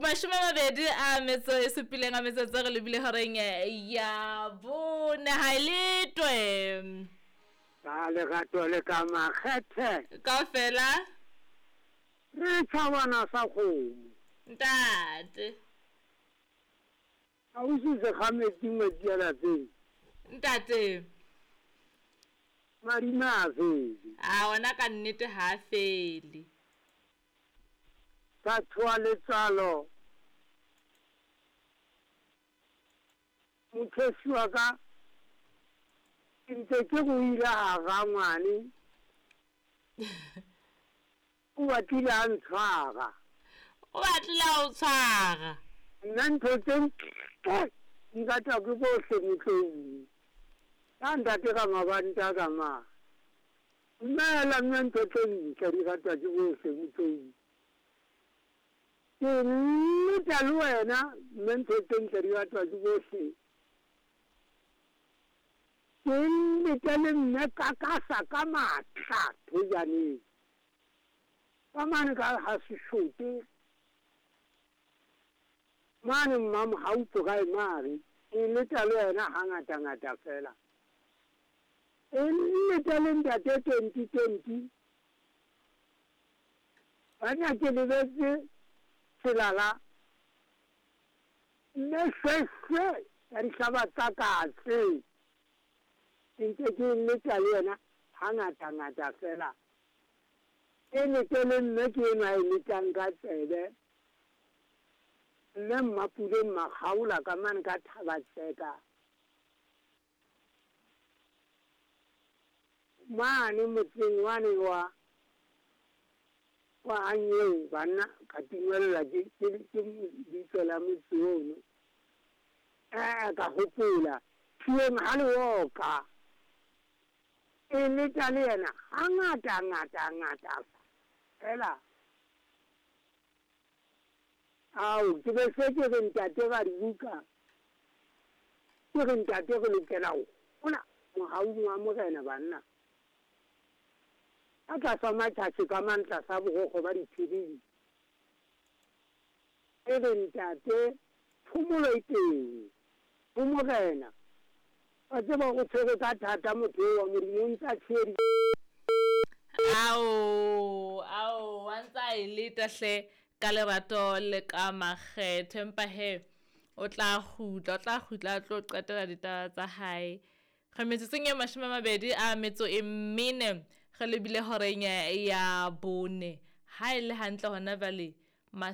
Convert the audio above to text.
27 a metsotso re lebile horeng ya bone ha e letwe. Ka lerato le ka makgethe. Kaofela. Re tjhabana sa kgomo. Ntate. Ausi Sekgametsi ngwetsi ya lapeng. Ntate. Madima a fele. A ona ka nnete ha a fele. Ka tshoha letswalo. Mothosi wa ka, ke ntse ke go ile ga rangwane. O batlile a ntshwara. O batlile a o tshwara. Nna ntho tse ntle di ratwa ke bohle motlong. Ka ntate ka mabanta ka ma. Dumela mme ntho tse ntle di ratwa ke bohle motlong. Ke nneta le wena mme ntho tse ntle di ratwa ke bohle. Ke nnete le mme kakasa ka matla thojaneng. Ka mane ka ha seshote mane Mmamohau Primary ke nneta le wena hangatangata fela. Ke nnete le ntate 2020 banna ke lebetse selala mme shweshwe ya dihlaba tsa katse ke ntse ke nneta le yena hangatangata fela. Ke nnete le mme ke enwa e letang ka tsebe mme Mmapuleng Makgaola ka mane ka Thabatseka mane motseng wane wa wa Anyeo banna ka tingwella ke ke ke bitso la motse ono eh ka hopola phieng ha leoka e leta le yena hangata ngata ngata fela. Ao, ke be se ke re ntate Radibuka, ke re ntate re lokela ho hola mohaung wa Morena banna. Ka tlasa matjhatjhe ka mang tlasa borokgo ba diphiring. Ke re ntate phomolo e teng ho Morena. Wa tseba o tshwere ka thata motho eo wa Modimo o ntsa tshwere. Ao, ao, wa ntsa e leta hle ka lerato le ka makgethe empa he o tla kgutla, o tla kgutla a tlo qetela ditaba tsa hae. Re metsotsong e 24 re lebile horeng ya bone. Ha e le hantle hona jwale.